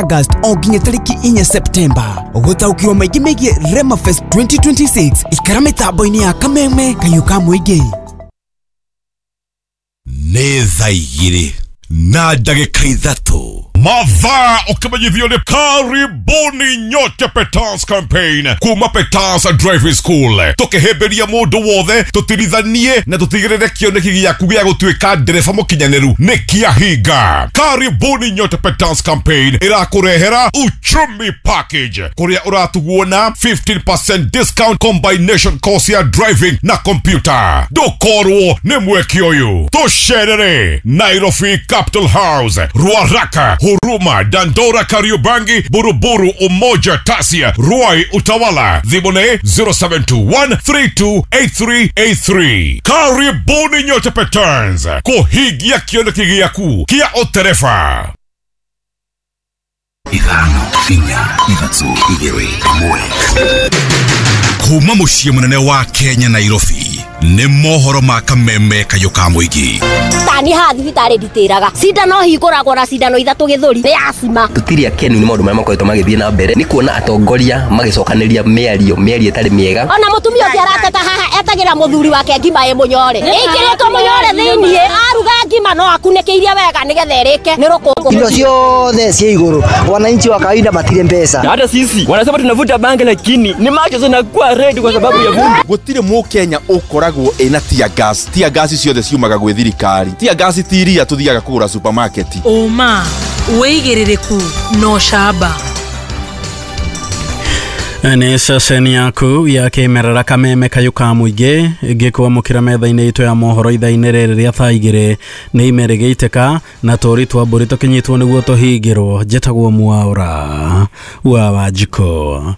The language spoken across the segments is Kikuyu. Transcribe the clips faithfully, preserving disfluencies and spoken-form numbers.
August o nginya tarĩki inya Septemba. Gũtaũkĩrwo maingĩ megiĩ Rema Fest twenty twenty-six ikara mĩtambo-inĩ ya Kameme Kayũ ka Mũingĩ. Nĩ thaa igĩrĩ na ndagĩka ithatũ. Madhaa ukimenyithio ni karibuni nyote Petans campaign kuma Petans Driving School, tukihimbiria mundu wothe tutirithanie na tutigirire kioneki giaku gia gutuika ndereba mukinyaniru ni kiahinga. Karibuni nyote Petans campaign irakurehera uchumi package kuria uratugwo na fifteen percent discount combination course ya driving na computer. Ndukorwo ni mweke uyu, tucerere Nairobi Capital House, Ruaraka, Huruma, Dandora, Kariobangi, Buruburu, Umoja, Tasia, Ruai, Utawala. Thimũ zero seven two one three two eight three eight three. Karibuni nyote Petans kuhigia kioneki giaku kia utereba. Ithano, inya, ithatũ, igĩrĩ, ĩmwe. Kuma mũciĩ mũnene wa Kenya Nairobi nĩ mohoro ma Kameme Kayũ ka Mũingĩ. Tani haha thibitarĩ nditĩraga cindano hingũragwo na cindano ithatũ gĩthũri nĩ acima. Tũtirĩ akenu nĩ maũndũ marĩa makoretwo magĩthiĩ na mbere nĩ kuona atongoria magĩcokanĩria mĩario mĩario ĩtarĩ mĩega. Ona mũtumia ũngĩ arateta haha etagĩra mũthuri wake ngima ĩ mũnyore, ĩkĩrĩtwo mũnyore thĩiniĩ, aruga ngima no akunĩkĩirie wega nĩgetha ĩrĩke nĩ rũkũngũ. Indo ciothe ciĩ igũrũ, wananchi wa kawaida matirĩ mbeca. Hata sisi wanasema tunavuta bangi lakini ni macho zinakuwa red kwa sababu ya vumbi. Gũtirĩ mũkenya ũkoragwo ĩna tear gas. Tear gas ciothe ciumaga gwĩ thirikari. Tear gas ti iria tũthiaga kũgũra supermarket. Ũma wĩigĩrĩrĩku no camba. Nĩ ceceni yaku ya kĩmerera Kameme Kayũ ka Mũingĩ ngĩkwamũkĩra metha-inĩ itũ ya mohoro ithaa-inĩ rĩrĩ rĩa thaa igĩrĩ nĩ ime rĩgĩitĩka na tũri twa mbũri tũkinyitwo nĩguo tũhingĩrwo. Njĩtagwo Mwaũra wa Wanjikũ.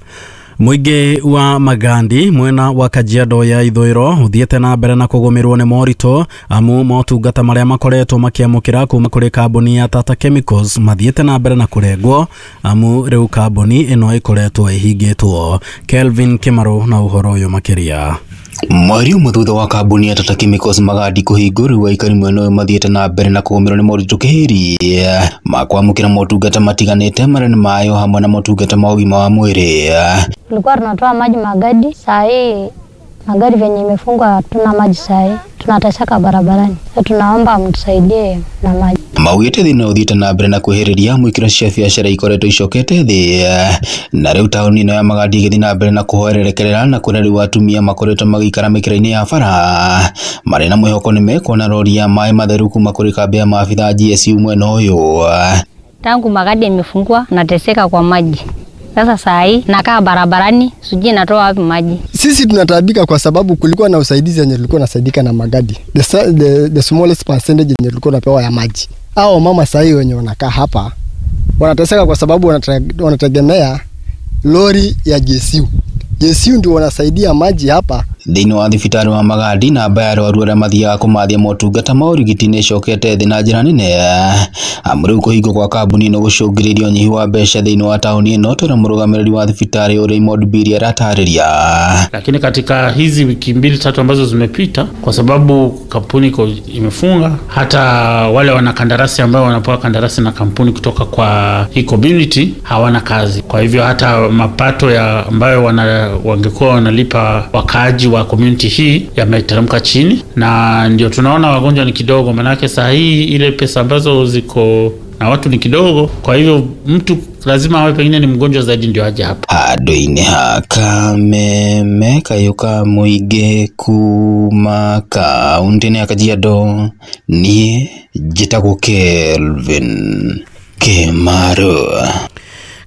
Mũingĩ wa Magandi mwena wa Kajiado ya ithũĩro ũthiĩte na mbere na kũgũmĩrwo nĩ moritũ amu motungata marĩa makoretwo makĩamũkĩra kuma kũrĩ kambuni ya Tata Chemicals mathiĩte na mbere na kũrengwo amu rĩu kambuni ĩno ĩkoretwo ĩhingĩtwo. Kelvin Kĩmarũ na ũhoro ũyũ makĩria. Mweri ũmwe thutha wa kambuni ya Tata Chemicals Magandi kũhingũrwo, aikari mwena ũyũ mathiĩte na mbere na kũgũmĩrwo nĩ moritũ kĩhĩri ma kwamũkĩra motungata matiganĩte marĩa nĩ mayo hamwe na motungata ma ũgima wa mwĩrĩ. Tulikuwa tunatoa maji Magadi, saa hii magari venye imefungwa hatuna maji, saa hii tunateseka barabarani. Sasa tunaomba mtusaidie na maji. Maugĩte thĩna ũthiĩte na mbere na kwĩhĩrĩria mwĩkĩro cia biacara ikoretwo icokete thĩ na rĩu taũni ĩno ya Magandi ĩgĩthiĩ na mbere na kũhoererekerera na kũrĩa rĩu atumia makoretwo magĩikara mĩkĩra-inĩ ya bara marĩ na mwĩhoko nĩ mekuona rori ya maĩ matheru kuma kũrĩ kambĩ ya maabitha G S U mwena ũyũ. Tangu Magadi imefungwa nateseka kwa maji. Sasa saa hii nakaa barabarani, sijui natoa wapi maji. Sisi tunataabika kwa sababu kulikuwa na usaidizi yenye tulikuwa nasaidika na Magadi. The, the, the smallest percentage yenye tulikuwa tunapewa ya maji. Hao mama saa hii wenye wanakaa hapa wanateseka kwa sababu wanategemea lori ya G S U. G S U ndio wanasaidia maji hapa. Thĩinĩ wa thibitarĩ wa Magandi namba ya arwaru arĩa mathiaga kũmathia motungata ma ũrigiti nĩ ĩcokete thĩ na njĩra nene amu rĩu kũhingwo kwa kambuni ĩno gũcũngĩrĩria ũnyihu wa mbeca thĩinĩ wa taũni ĩno, tũrĩa mũrũgamĩrĩri wa thibitarĩ Raymond Biri aratarĩria. Lakini katika hizi wiki mbili tatu ambazo zimepita, kwa sababu kampuni iko imefunga, hata wale wanakandarasi ambao wanapewa kandarasi na kampuni kutoka kwa hii community hawana kazi. Kwa hivyo hata mapato ya ambayo wana, wangekuwa wanalipa wakaaji wa community hii yameteremka chini, na ndio tunaona wagonjwa ni kidogo, manake saa hii ile pesa ambazo ziko na watu ni kidogo. Kwa hivyo mtu lazima awe pengine ni mgonjwa zaidi ndio aje hapa. Handũ-inĩ ha Kameme Kayũ ka Mũingĩ kuma kaũntĩ-inĩ ya Kajiado, niĩ njĩtagwo Kelvin Kĩmarũ.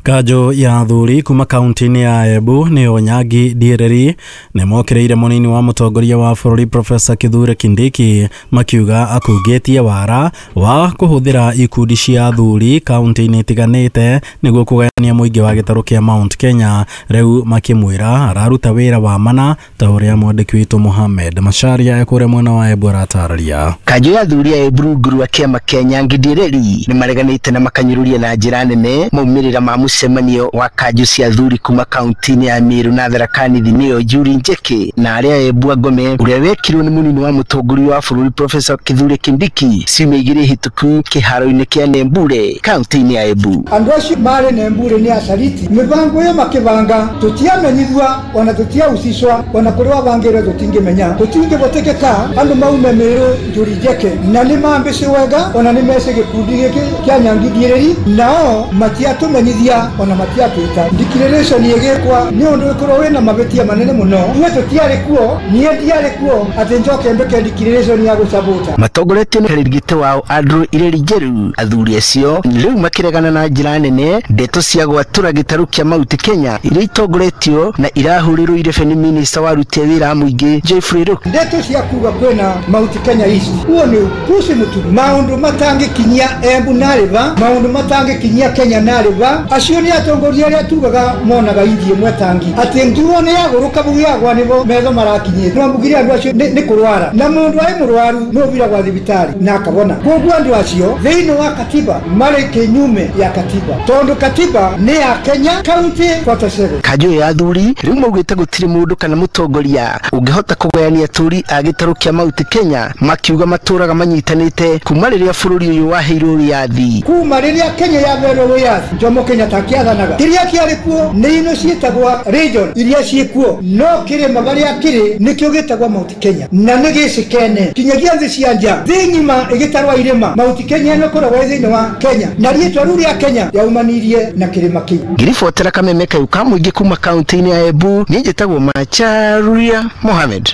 Kanjũ ya athuri kuma kaunti-inĩ ya Embu nĩyo Nyangi Ndiereri nĩ mokĩrĩire mũnini wa mũtongoria wa bũrũri Profesa Kithure Kindiki makiuga akungĩtie wara wa kũhũthĩra ikundi cia athuri kaunti-inĩ itiganĩte nĩguo kũgayania mũingĩ wa gĩtarũ kĩa Mount Kenya. Rĩu makĩmwĩra araruta wĩra wa mana ta ũrĩa mwandĩki witũ Mohamed Macharia ekũrĩa mwena wa Embu aratarĩria. Kanjũ ya athuri a Embu rungu rwa kĩama kĩa Nyangi Ndiereri nĩ mareganĩte na makanyũrũria na njĩra nene maumĩrĩra ma Mũcemanio wa kanjũ cia athuri kuma kaunti-inĩ ya Meru na Tharaka Nithi nĩyo Njuri Njeke na arĩa Embu Ngome ũrĩa wekirwo nĩ mũnini wa mũtongoria wa bũrũri Professor Kithure Kindiki ciumia igĩrĩ hĩtũku kĩharo-inĩ kĩa Nembure kaunti-inĩ ya Embu. Andũ acio marĩ Nembure nĩ acariti mĩbango ĩyo makĩbanga tũtiamenyithua ona tũtiahusishwa ona kũrĩa wabangĩrwo tũtingĩmenya tũtingĩbotekeka andũ maume Meru Njuri Njeke na nĩ mambĩce wega ona nĩ mece gĩkundi gĩkĩ kĩa Nyangithirĩri nao matiatũmenyithia ona matiatwĩta declaration ĩgĩkwa nĩ ũndũ ĩkorwo wĩna mabĩtia manene mũno ithuĩ tũtiarĩ kuo niĩ ndiarĩ kuo atĩ njoke mbĩke declaration ya gũcabuta. Matongoretio nĩ rĩrigite wao Andrew Ireri Njeru athuri acio rĩu makĩregana na njĩra nene ndeto cia gwatũra gĩtarũ kĩa Mount Kenya iria itongoretio na irahũrĩrwo irebe nĩ minista wa aruti a wĩra a mũingĩ Geoffrey Ruku. Ndeto cia kuga kwĩna Mount Kenya East uo nĩ upuci mũtu maũndũ matangĩkinyia Embu na River maũndũ matangĩkinyia Kenya na River acio nĩ atongoria arĩa tugaga monaga ithiĩ mwetangi atĩ nduo nĩ yagũrũka bau yagwa nĩbo metho marakinyĩte no mbugire andũ acio nĩ kũrwara na mũndũ arĩ mũrwaru no ũthira gwa thibitarĩ na akabona koguo andũ acio thĩinĩ wa katiba marĩ kĩnyume ya katiba tondũ katiba nĩ ya Kenya county forty-seven. Kanjũ ya athuri rĩu maugĩte gũtirĩ mũndũ kana mũtongoria ũngĩhota kũgayania atũri a gĩtarũ kĩa Mount Kenya makiuga matũraga manyitanĩte kuma rĩrĩa bũrũri ũyũ waheirwo wĩyathi. Kuma rĩrĩa Kenya yaheirwo wĩyathi Jomo Kenyatta akĩathanaga kĩrĩa kĩarĩ kuo nĩ ino ciĩtagwo region iria ciĩkuo no kĩrĩma barĩa kĩrĩ nĩkĩo gĩtagwo Mount Kenya na nĩ gĩcikene kinyagia thĩ cia nja thĩ ng'ima ĩgĩtarwo irĩma Mount Kenya ĩno ĩkoragwo ĩ thĩinĩ wa Kenya na rĩtwa rĩu rĩa Kenya yaumanirie na kĩrĩma kĩu. Ngĩribotera kameme kayũ ka mũingĩ kuma kaunti-inĩ ya Embu niĩ njĩtagwo Macharia Mohamed.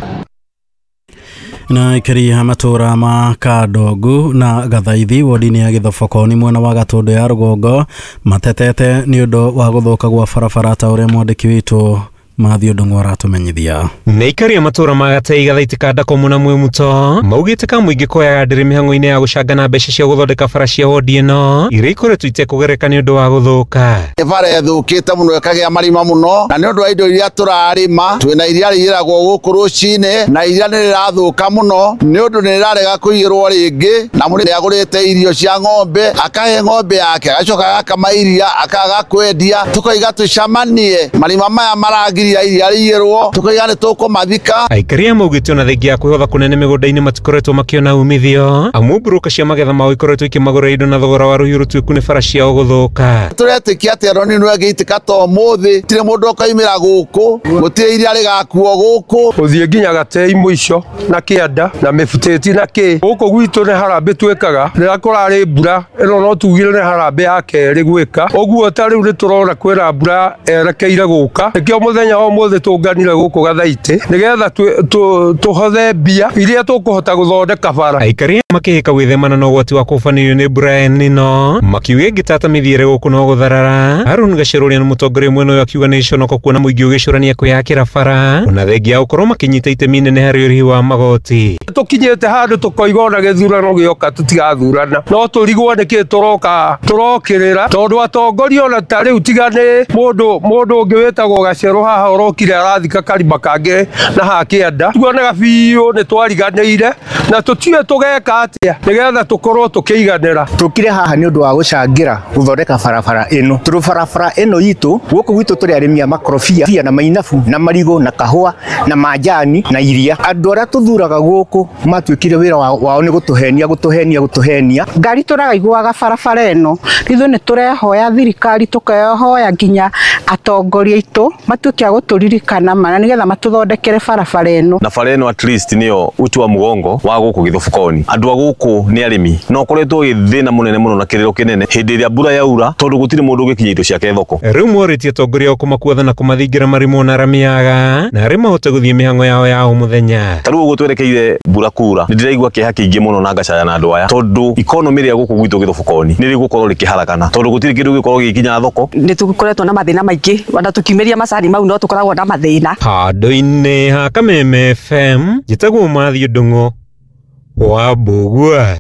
Na ikari ha matura ma Kadogu na Gathaithi wodi-inĩ ya Gĩthobokoni mwena wa Gatũndũ ya rũgongo matetete nĩ ũndũ wa gũthũka gwa barabara ta ũrĩa mwandĩki witũ Mathew Ndung'u aratumenyithia. Nĩ ikari a matura ma Gatei Gathaiti Kandakomu na Mwimuto maugĩte ka mũingĩ koyaga ndĩrĩ mĩhang'o-inĩ ya gũcangana mbeca cia gũthondeka bara cia wodi ĩno iria ikoretwo itekũgereka nĩ ũndũ wa gũthũka. Bara ĩthũkĩte mũno ĩkagĩa marima mũno na nĩ ũndũ wa indo iria tũrarĩma twĩna iria rĩiyĩragwo gũkũ rũcinĩ na iria nĩ rĩrathũka mũno nĩ ũndũ nĩ rĩrarega kũiyĩrwo rĩngĩ na mũrĩmi agũrĩte irio cia ng'ombe akahe ng'ombe yake agacoka agakama iria akaga kwendia tũkoiga tũcamanie marima maya maragiria iria rĩiyĩrwo tũkoiga nĩ tũkũmathika. Aikari a maugĩte ona thengia ya kwĩhotha kũnene mĩgũnda-inĩ matikoretwo makĩona umithio amu mburũka cia magetha mao ikoretwo ikĩmagũrĩra indo na thogora wa rũhiũ rũtuĩku nĩ bara ciao gũthũka. Tũretĩkia atĩ Aroni nĩwe ĩngĩitĩka ta ũmũthĩ tirĩ mũndũ ũkaimĩra gũkũ gũtirĩ iria rĩgakuo gũkũ ũthiĩ nginya Gatei mũico na kĩanda na mĩbutĩti na kĩ gũkũ gwitũ nĩ harambĩ twĩkaga rĩrĩa kũrarĩ mbura ĩno no tugire nĩ harambĩ ya kerĩ gwĩka ũguo ta rĩu nĩ tũrona kwĩna mbura erekeire gũka nĩkĩo mũthenya wa ũmũthĩ tũnganire gũkũ Gathaitĩ nĩgetha tũhothe mbia iria tũkũhota gũthondeka bara. Aikari makĩhĩka gwĩthemana na ũgwati wa kũbanĩrio nĩ mbura ya El Nino makiuga ĩngĩtata mĩthiĩre gũkũ no gũtharara. Harun Gacerũ ũrĩa nĩ mũtongoria mwena ũyũ akiuga nĩ gĩconoko kuona mũingĩ ũgĩcũrania kwĩyakĩra bara ona thengia ya gũkorwo makĩnyita itemi inene harĩ ũrĩhi wa magoti. Tũkinyĩte handũ tũkoiga ona gĩthurano gĩoka tũtigathurana no tũrigwo nĩkĩ tũroka tũrokĩrĩra tondũ atongoria ona ta rĩu tiga nĩ mũndũ mũndũ ũngĩ wĩtagwo Gacerũ haha ũrokire arathika karima kangĩ na haha kĩanda tuonaga biũ nĩ twariganĩire na tũtiũĩ tũgeka atĩa nĩgetha tũkorwo tũkĩiganĩra. Tũkire haha nĩ ũndũ wa gũcangĩra gũthondeka barabara ĩno tondũ barabara ĩno itũ gũkũ gwitũ tũrĩ arĩmi a makorobia na mainabu na marigũ na kahũa na manjani na iria. Andũ arĩa tũthuraga gũkũ matuĩkire wĩra wao nĩ gũtũhenia gũtũhenia gũtũhenia. Ngari tũragaiguaga barabara ĩno ithuĩ nĩ tũrehoya thirikari tũkehoya nginya atongoria aitũ matuĩke a gũtũririkana mana nĩgetha matũthondekere barabara ĩno. Na bara ĩno at least nĩyo uti wa mũgongo wa gũkũ Gĩthobokoni. Andũ a gũkũ nĩ arĩmi no koretwo gĩthĩna mũnene mũno na kĩrĩro kĩnene hĩndĩ ĩrĩa mbura yaura tondũ gũtirĩ mũndũ ũngĩkinyia indo ciake thoko. Rĩu morĩtie atongoria ao kũmakuatha na kũmathingira marimũ na ramiaga na arĩa mahote gũthiĩ mĩhang'o yao ya o mũthenya. Ta rĩu ũguo twerekeire mbura kura nĩ ndĩraigua kĩeha kĩingĩ mũno na ngacaya na andũ aya tondũ ikonomĩ rĩa gũkũ gwitũ Gĩthobokoni nĩ rĩgũkorwo rĩkĩharagana tondũ gũtirĩ kĩndũ gĩgũkorwo gĩgĩkinya thoko. Nĩ tũkoretwo na mathĩna maingĩ ona tũkiumĩria macani mau no tũkoragwo na mathĩna. Handũ-inĩ ha Kameme F M njĩtagwo Mathew Ndung'u wa Mbũgua.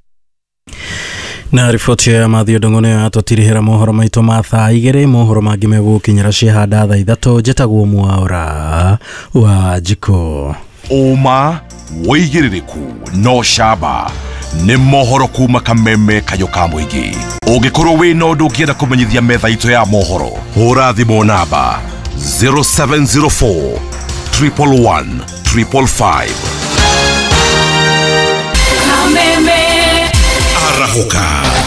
Na riboti ya Mathew Ndung'u nĩyo yatũtirihĩra mohoro maitũ ma thaa igĩrĩ. Mohoro mangĩ megũkinyĩra ciahanda thaa ithatũ. Njĩtagwo Mwaura wa Njikũ. Ũma wĩigĩrĩrĩku no camba Nĩ mohoro kuma kameme kayũ ka mũingĩ. Ũngĩkorwo wĩna ũndũ ũngĩenda kũmenyithia metha itũ ya mohoro, hũra thimũ namba zero seven zero four triple one triple five. Arahũka.